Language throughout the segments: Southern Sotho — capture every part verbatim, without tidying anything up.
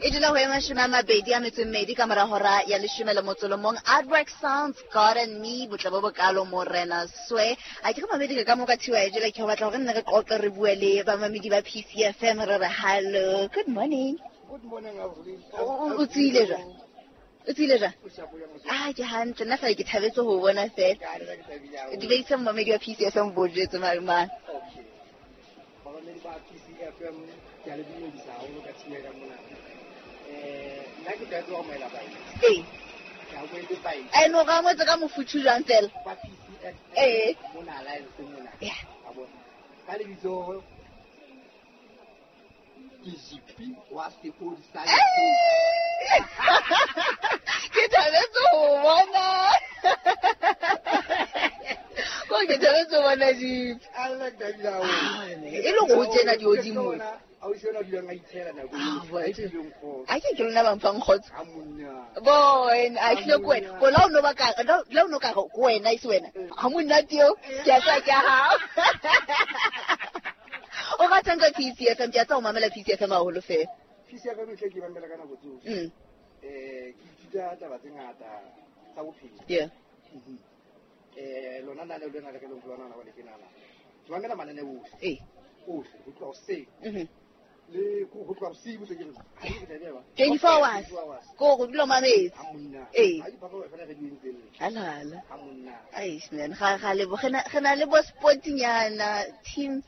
E dula ho ema mashome a mabedi a metso e mmedi ka mora hora ya leshome le motso le mong. Artwork Sounds, God and Me, botle bo bokalo morena swe. A ke re mamedi ka mo ka thiwa e jela ke batla hore nne re qoqe re bue le bamamedi ba P C F M re re hello. Good morning. Good morning, Avril. O tsile jwang? O tsile jwang? Ah, ke hantle nna fela ke thabetse ho bona fela. Dumedisa momamedi wa P C F M bo jwetse mare man. Okay. Bamamedi ba P C F M ke a le dumedisa haholo ka thiwa ka mona. Eh, nna ke thabetse ho amohela baeti. Ee. Ke amohetse baeti. Ai no ga amohetse ka mofuthu jwang fela? Ba P C F M. Ee. Mona Alliance mona. Yeah. A bona. Ka lebitso ke G P wa Sepodi sa Ke thabetse ho bona. Ko ke thabetse ho bona G P. A nna ke thabile haholo. E le go tsena dihodimo. A o shona dulang a itshela nako Ah, e boy. e fileng kgotso. A ke ke lona ba mfang kgotso. Ha monna. Boy, a hlile ko wena. Ko la o no ba ka, la o no ka go wena e se wena. Ha monate eo, ke a tswa ke a hao. O ratang ka P C F M, ke a tswa o mamela P C F M haholo fela. P C F M e hle ke mamela ka nako tsohle. Mm. Eh, ke ithuta taba tse ngata tsa bophelo. Yeah. Mhm. Eh, lona na le lona le ke leng lona na le ke nana. Ke mamela mananeo ohle. Eh. Ohle, ho tloha hoseng. Mhm. Le ko ho tloha bosiu tse ke re. Ha ke tla bua. twenty-four hours. twenty-four hours. Ko go dula mametse. Ha monna. Eh. Ha ke papa fela re di entse. Halala. Ha monna. Eish man, ga ga le bo gena gena le bo sportinyana team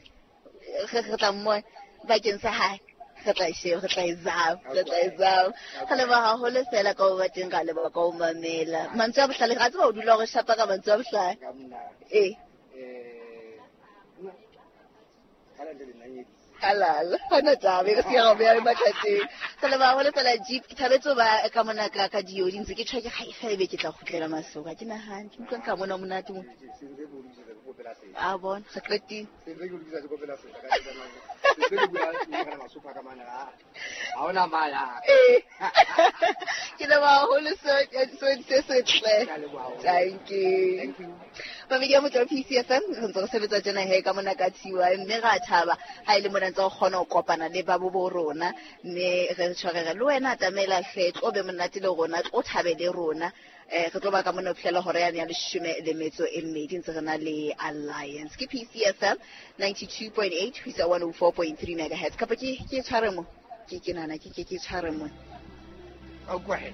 re re tla mo bakeng sa hae. Re tla sheba, re tla e zama, re tla e zama. Ga leboha haholo fela ka ho ba teng, ga leboha ka ho mamela. Mantswe a bohlale, ga tseba o dula o re shapa ka mantswe a bohlale. Ka monna. Eh. Eh, nna, ka la le nanyedisa. Halala, hona taba, e re se ya beya mathateng. Re leboha haholo fela Jeep, ke thabetse ho ba ka mona ka ka diodi ntse ke tjho ke ga e fela ebe ke tla kgutlela Masoka. Ha ke nahane, ke utlwa nka mona monate mo. Se ntse ke o lokisetsa ke kopela sena. A bona, re qetile. Se ntse ke o lokisetsa ke kopela sena, ka ke tsamaya. Se ntse ke bua le ka Masopha ka mane, ha ha hona maya. Eh. Ke leboha haholo so so se setle. Ke a leboha haholo. Thank you. Thank you. Mamedi ya Motho wa P C F M, re ntse re sebetsa tjena he ka mona ka T Y, mme ra thaba ha e le mona ntse o kgona ho kopana le ba bo bo rona, mme re tshwarere le wena atamela hle, tlo be monate le rona, tlo thabe le rona. Eh, re tlo ba ka mona ho fihlela hora yane ya leshome le metso e mmedi ntse re na le Alliance. Ke P C F M ninety-two point eight ho isa one oh four point three megahertz. Kapa ke, ke tshware mo? Ke, ke nahana ke, ke, ke tshware mo. A utlwa he.